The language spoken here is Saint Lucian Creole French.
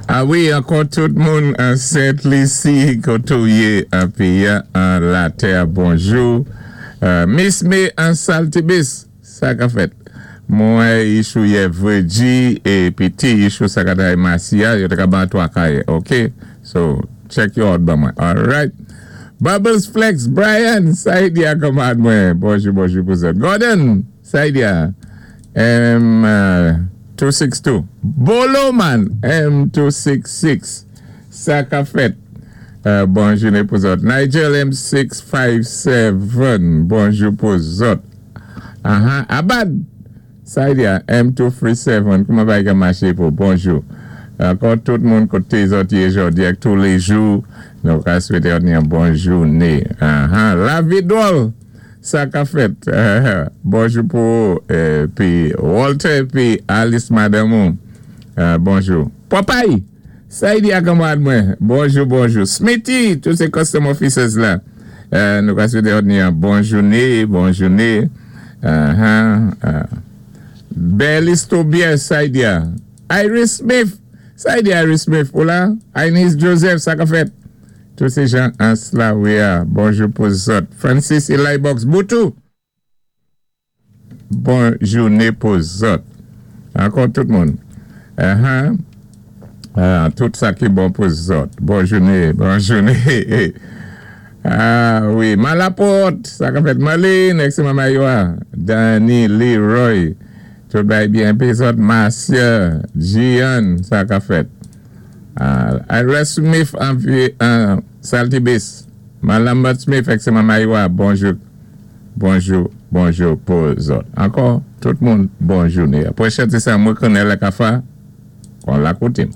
A wi, ankò tout moun an Sent Lisi, koté ou yé an péyi an, an latè, bonjou. Miss May an Saltibus, sa ka fèt? Mwen yichou yè Virgie épi ti yichou sa ka tay Marcia, yo té ka ban 3 kayé, ok? So, check yo out ban mwen. Alright. Bubbles Flex, Brian, sa y di a kanmarad mwen? Bonjou, bonjou pou zòt. Gordon, sa y di a? M 262. Bolo man, M 266. Sa ka fèt? Bon jouné pou zòt. Nigel M 657. Bonjou pou zòt. Aha, Abad! Sa y di a? M 237. Kouman bagay ka maché pou? Bonjou. Ankò tout moun koté zòt yé jòdi ak touléjou, nou ka swété òt ni yon bon jouné. Aha, Lavi dwòl! Sa ka fèt? Bonjou pou ou, épi Walter épi Alice madanm ou. Bonjou. Popeye! Sa y di a kanmarad mwen? Bonjou, bonjou. Smithy! Tout sé custom officers la. Nou ka swété òt ni yon bon jouné, bon jouné. Aha. Berlis Tobias, sa y di a? Iris Smith! Sa y di Iris Smith, ou la? Inez Joseph, sa ka fèt? Tout sé jan ans la wi a. Bonjou pou zòt. Francis Eli Box Boutou! Bon jouné pou zòt. Ankò tout moun. Aha. Tout sa ki bon pou zòt. Bon jouné, bon jouné. Ah wi. Malapòt! Sa ka fèt? Marlene, ex manman yo a. Danny, Leroy. Tout bagay byen pi zòt. Marcia, Gian, sa ka fèt? Ira Smith anvi Saltibus. Malambert Smith, ex manman yo a. Bonjou. Bonjou bonjou pou zòt ankò tout moun bon joune apre chante sa mwen konnen lè ka fa kon la koutim.